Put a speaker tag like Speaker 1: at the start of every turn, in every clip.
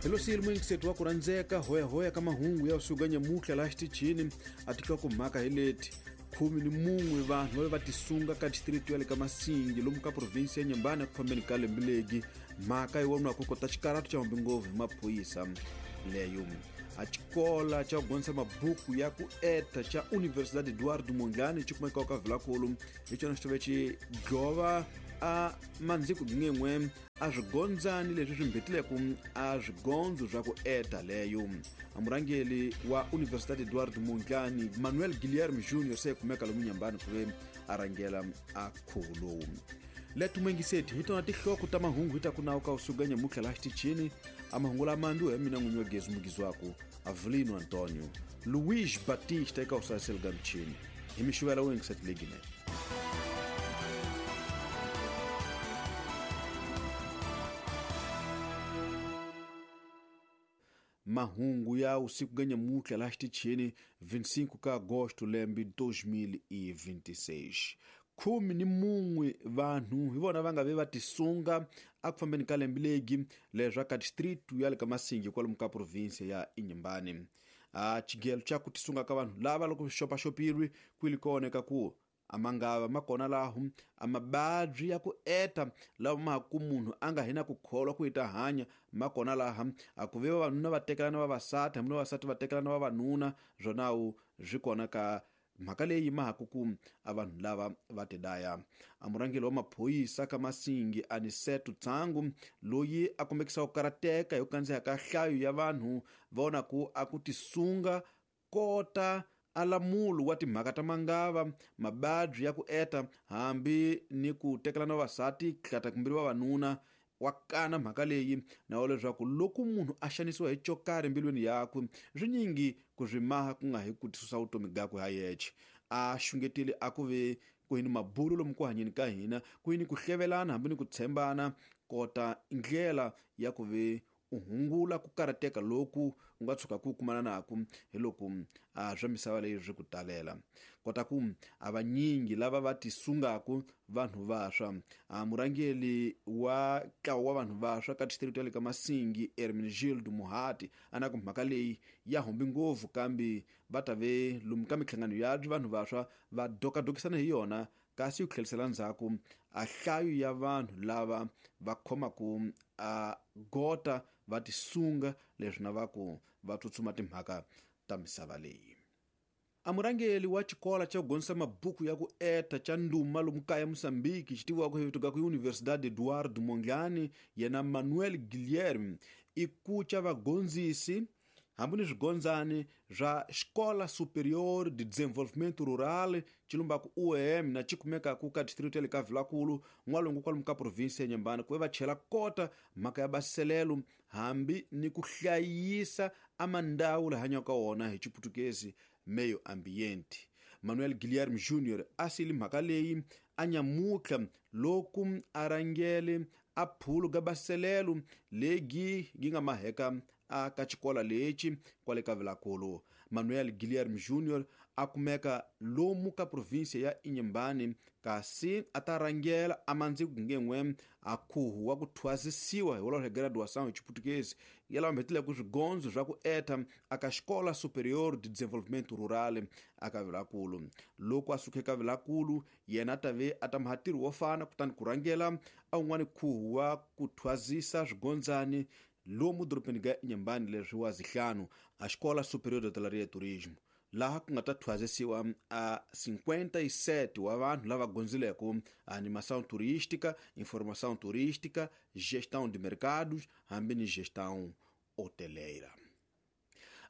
Speaker 1: Hi lo siyile muyingiseti wa ku rhandzeka hoyahoya ka mahungu ya usuku nyamuhla laha xitichini a tinhlokomhaka hi leti 11 vanhu va va tisunga ka distrito ya le ka Masingi lomu ka provinsi ya Nyambani eku fambeni ka lembe legi. Mhaka yi voniwa ku kota xikaratu xa humbi ngopfu hi maphorisa leyo. A xikola xa ku gonisa mabuku ya ku eta xa Universidade Eduardo Mondlane xi kumekaka ka Vilakulu hi xona xi tove xi dlova a mandziko ngen'we a swigondzani leswi swi mbhetileke a swigondzo swa ku eta leyo. A murhangeri wa Universidade Eduardo Mondlane Manuel Guilherme Junior se kumeka lomu Nyambani ku ve a rhangela a khuvo lowu. Leto muyingiseti hi tona tinhloko ta mahungu hi ta ku nawu ka usuku nyamuhla laha xitichini. A mahungu lama ndi ya mina n'winyi wa gezi mugizwaku Avelino Antonio Luiz Batista eka usaseli ga michini hi mixivela wo yingiseti leginene. Mahungu ya usiku ga nyamuhla laha xitichini 25 ka agosto lembe 2026. 11 vanhu hi vona va nga ve va tisunga eku fambeni ka lembe legi leswa ka distrito ya le ka Masingi kwalomu ka provinsi ya Inhambane. A xigelo xa ku tisunga ka vanhu lava loko swi xopaxopilwe kwili kona eka ku a mangava ma kona laho a mababyi ya ku eta lawa ma ku munhu a nga hina ku kholwa ku ita hanya ma kona laha a ku ve vavanuna va tekelana vavasati hambi vavasati va tekelana vavanuna swonawu swi kona ka mhaka leyi ma ha ku ku a vanhu lava va tidaya. A murhangeri wa maphorisa ka Masingi Aniseto Tsangu loyi a kombekisa ku karateka hi ku kandziha ka nhlayo ya vanhu va ku a ku tisunga kota alamulu wa timhaka ta mangava mababyi ya ku eta hambi ni ku tekelana vavasati hlata kumbe vavanuna wa kana mhaka leyi na wa leswaku loko munhu a xanisiwa hi xo karhi mbilwini yakwe swinyingi ku swi maha ku nga hi ku tisusa vutomi byakwe ha yexe. A xungetile a ku ve ku yini mabulo lomu ku hanyeni ka hina ku yini ku hlevelana hambi ni ku tshembana kota ndlela ya ku ve u hungula ku karateka loku u nga tshuka ku kumana naku hi loko a swa misava leyi swi ku talela. Kota ku a vanyingi lava va tisungaku vanhu vaswa. A murhangeri wa ntlawa wa vanhu vaswa ka distrito ya le ka Masingi Hermenegildo Muhati a na ku mhaka leyi ya humbi ngopfu kambe va ta ve lomu ka minhlangano ya vanhu vaswa va dokadokisana hi yona kasi ku tlherisela ndzhaku a nhlayo ya vanhu lava va khomaku a gota va tisunga leswi na va ku va tsutsuma timhaka ta misava leyi. A murhangeri wa xikola xa ku gonisa mabuku ya ku eta xa nduma lomu kaya Mozambique xi tiviwaka hi vito ga ku Universidade Eduardo Mondlane yena Manuel Guilherme i kuca vagondzisi hambi ni swigondzani swa Escola Superior de Desenvolvimento Rural xilumbaku UEM na xi kumekaku ka distrito ya le ka Vilakulu n'walungu kwalomu ka provinsi ya Nyambani ku ve va chela kota mhaka ya baselelo hambi ni ku hlayisa a mandawu la hanyaka wona hi Xiputukezi meio ambiente. Manuel Guilherme Junior a sili mhaka leyi a nyamuhla loko a rhangele a phulu ga baselelo legi gi nga maheka a ka xikola lexi kwale ka Vilakulu. Manuel Guilherme Junior a kumeka lomu ka provinsi ya Inhambane kasi a ta rhangela a mandziko ngen'we a khuhu wa ku thwasisiwa hi wolowo graduação hi Xiputukezi ya lava mbhetileke swigondzo swa ku eta aka Escola Superior de Desenvolvimento Rural aka Vilakulu. Loko a suka eka Vilakulu yena a ta ve a ta maha ntirho wo fana kutani ku rhangela a un'wani khuhu wa ku thwasisa swigondzani lomu dorobeni ga Inhambane leswi wa zihlanu a Escola Superior de Hotelaria e Turismo laha ku nga ta thwasisiwa a 57 wa vanhu lava gondzileke animação turística, informação turística, gestão de mercados hambi ni gestão hoteleira.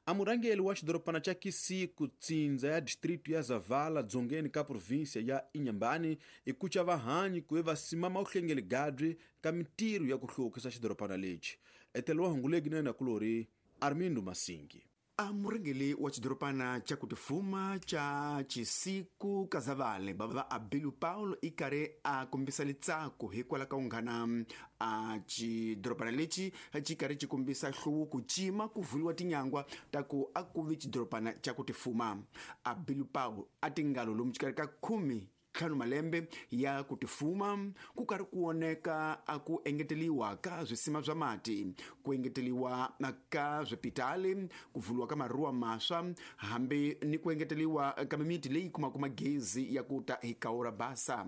Speaker 1: A murhangeri wa xidorobana xa Kisiku tsindza ya distrito ya Zavala dzongeni ka provinsia ya Inhambane i kuca vahanyi ku ve va simama uhlengeli gadri ka mintirho ya ku hluvukisa xidorobana lexi. Etelo wa hunguleki na yena kulori Armindo Masingi.
Speaker 2: A murhangeri wa xidorobana xa ku tifuma xa Chisiku Kazavale bava Abilu Paulo i karhi a kombisa litsako hikwalaho ka unghana a xidorobana lexi xi karhi xi kombisa nhluvuko cima ku vuliwa tinyangwa ta ku a ku vi xidorobana xa ku tifuma. Abilu Paulo a tingalo lomu xikarhi ka 10 5 malembe ya ku tifuma ku karhi ku oneka a ku engeteliwa ka swisima swa mati, ku engeteliwa ka swipitali, ku vuliwa ka maruwa maswa, hambi ni ku engeteliwa ka mimiti leyi kumaka magezi ya ku ta hi Kaura Basa.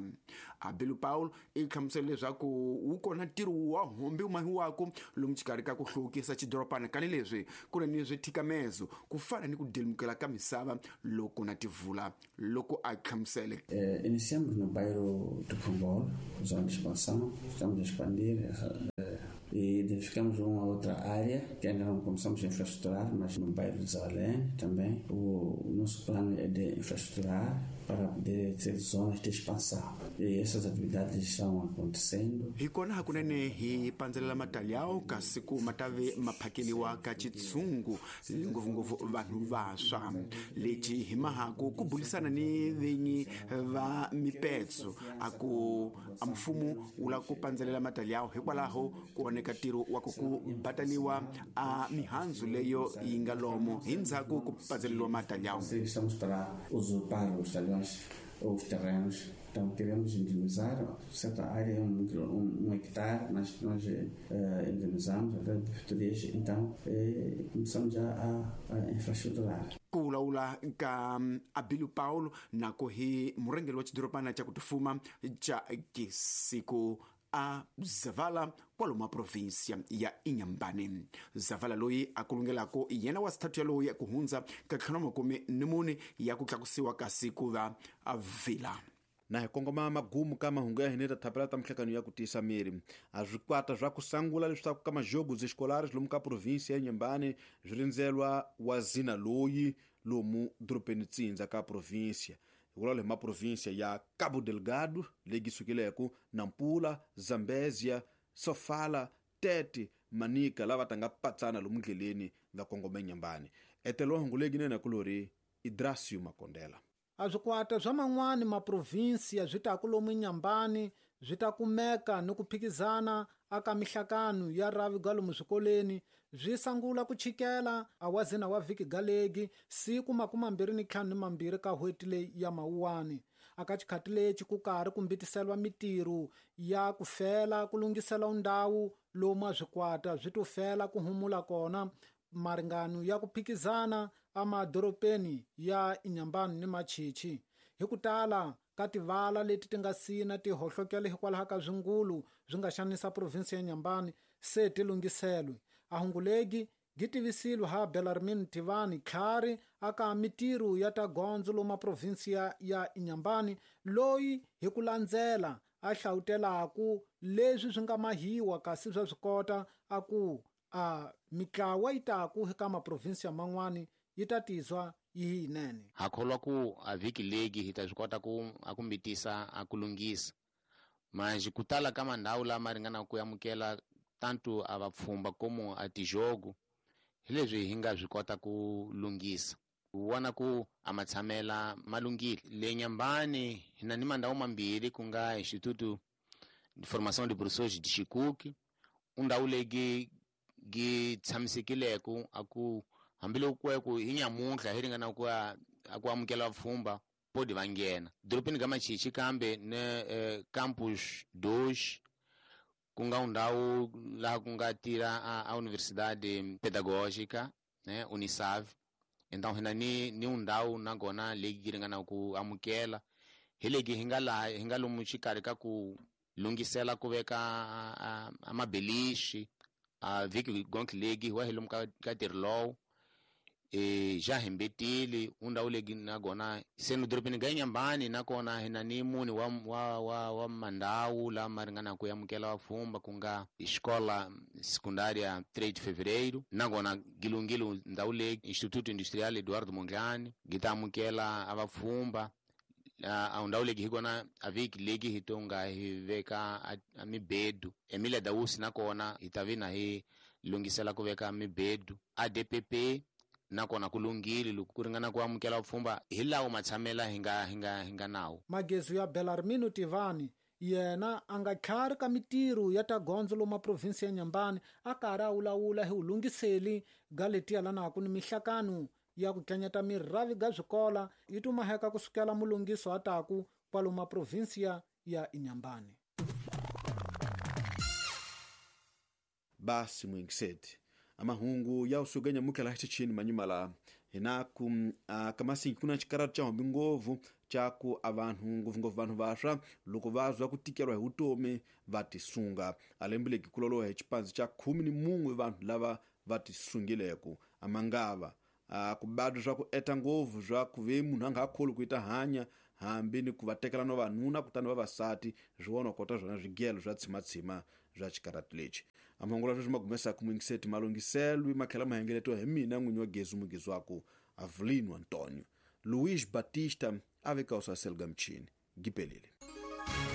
Speaker 2: Abilu Paul i hlamusela leswaku wu kona ntirho wa hombi wu mahiwako lomu xikarhi ka ku hluvukisa xidorobana kani leswi ku ri ni swithikamezo ku fana ni ku delimukela ka misava loko na tivula loko a hlamusele.
Speaker 3: Iniciamos no bairro do Congolo, zona de expansão, estamos a expandir e identificamos uma outra área que ainda não começamos a infraestruturar, mas no bairro de Zavalene também. O nosso plano é de infraestruturar para poder ter zonas de expansão. E essas atividades estão acontecendo.
Speaker 2: Hi kona hakunene hi pandzelela matalyawo kasi ku matave maphakeliwa ka chitsungu ngopfungopfu vanhu vantshwa. Lexi hi mahaku ku bulisana ni vinyi va mipetso a ku a mfumo wu lava ku pandzelela matalyawo hikwalaho ku oneka ntirho wa ku bataliwa a mihandzu leyo yi nga lomo hi ndzhaku ku pandzeleriwa matalyawo.
Speaker 3: Estamos para usurpar os talhões ou os terrenos. Então queremos indenizar certa área, um hectare, mas nós indenizamos até prefeiturias, então começamos já a infraestruturar.
Speaker 2: Ku vulavula ka Abilu Paulo nako hi murhangeri wa xidorobana xa ku tifuma xa Kisiku a Zavala kwalomu provinsia ya Inhambane. Zavala loyi a kulungelako yena wa sithathu yaloyi ku hundza ka 54 ya ku tlakusiwa kasi ku va a vila.
Speaker 1: Na hi kongoma magumu ka mahungu ya hina ta thapela ta mihlekano ya ku tiyisa miri. A swikwata swa ku sangula leswaku ka majogo escolares lomu ka provinsia ya Inhambane swi rindzelwa wa zina loyi lomu dorobeni Tsindza ka provinsia. Hikwalaho hi maprovinsia ya Cabo Delgado leyi sukileko Nampula, Zambezia, Sofala, Tete, Manica lava ta nga patsana lomu ndleleni nga kongoma Inhambane. Etelo hungu leyi nene kulori Idrasio Makondela.
Speaker 4: A swikwata swa man'wani maprovinsia swi ta ku lomu Inhambane swi ta kumeka ni ku phikizana aka mihlakano ya ravi ga lomu swikoleni swi sangula ku chikela a wazina wa vhiki galegi siku 25 ka hweti leyi ya Mawuwani. Aka xikhati lexi ku karhi ku mbitiselwa mitirho ya ku fela ku lunghisela ndhawu lomu a swikwata swi to fela ku humula kona maringano ya ku phikizana amadorobeni ya Inhambane ni Machichi. Hi ku tala ka tivala leti ti nga sina ti hohlokela hikwalaho ka swingulu swi nga xanisa provinsi ya Inhambane se ti lunghiselwe. A hungulegi gi tivisilwe ha Belarmin Tivani Tlhari aka mitirho ya ta gondzo lomu provinsi ya Inhambane loyi hi ku landzela a hlawutelaku leswi swi nga mahiwa kasi swa swi kota a ku a mitlawa yi taku eka maprovinsi man'wani yi ta tizwa yi yinene.
Speaker 5: Ha kholwa ku a vhiki legi hi ta swi kota ku a ku mbitisa a ku lunghisa manje ku tala ka mandhawu lama ringana ku amukela tanto a vapfhumba como a tijogo hi leswi hi nga swi kota ku lunghisa ku vona ku a matshamela malunghile. Le Inhambane hi na ni mandhawu mambirhi ku nga Instituto de Formação de Professores de Chicuque, undhawu leyi gi tshamisekileko a ku hambiloko ku hi nyamuntlha hi ringana ku a ku amukela vapfhumba podi va nghena dorobeni ka Machichi kambe ne campus 2 ku nga ndhawu laha ku nga tirha a Universidade Pedagógica, né, Unisav. Então hina ni undhawu nakona leyi ringana ku amukela hi legi hi nga laha hi nga lomu xikarhi ka ku lunghisela ku veka a mabelixi a vhiki gonke legi wa hi lomu ka ntirho lowu ja hembetile undhawu legi nakona se no dorobeni ga Inhambane nakona hina ni muni wa mandhawu lama ringana ku amukela vapfhumba ku nga Escola Secundária 3 de Fevereiro nakona gilungile ndhawu legi Instituto Industrial Eduardo Mondlane gi ta amukela a vapfhumba a ndhawu legi hi kona a vhiki legi hi tonga hi veka a mibedu Emilia Dausi nakona hi ta vina hi lunghisela ku veka mibedu ADPP nakona ku lunghile loko ku ringana ku amukela vupfhumba hi lawo matshamela hi nga nawo.
Speaker 4: Magezu ya Belarmino Tivani yena a nga tlhari ka mitirho ya ta gondzo lomu provinsi ya Inhambane a karhi a wulawula hi wulunghiseli ga letiya lanaku ni mihlakano ya ku tlanyata mirhavi ga swikola yi tumaheka kusukela mulunghiso a taku kwalomu provinsia ya Inhambane.
Speaker 1: Basi mwingiseti amahungu ya usuka nyamukela xitichini manyuma hinaku kamasingi kuna xikaratu xa hombi ngopfu xa ku a vanhu ngopfungopfu vanhu vaswa loko va zwa ku tikeriwa hi vutomi va tisunga a lembe legi ku loloha hi xipandzi xa 11 vanhu lava va tisungileko amangava ku badwa swa ku eta ngopfu swa ku ve munhu a nga ha kholi ku ita hanya hambi ni ku va tekela no vanuna kutani vavasati swi vona kota swona swigelo swa tshimatshima swa xikaratu lexi amahungu sweswi magumesaka mwingiseti malunghiselwi matlhela mahengeletiwa hi mina n'winyi wa gezi mugezi waku Avelino Antonio Luiz Batista a veka usaselo ga mchini gipelile.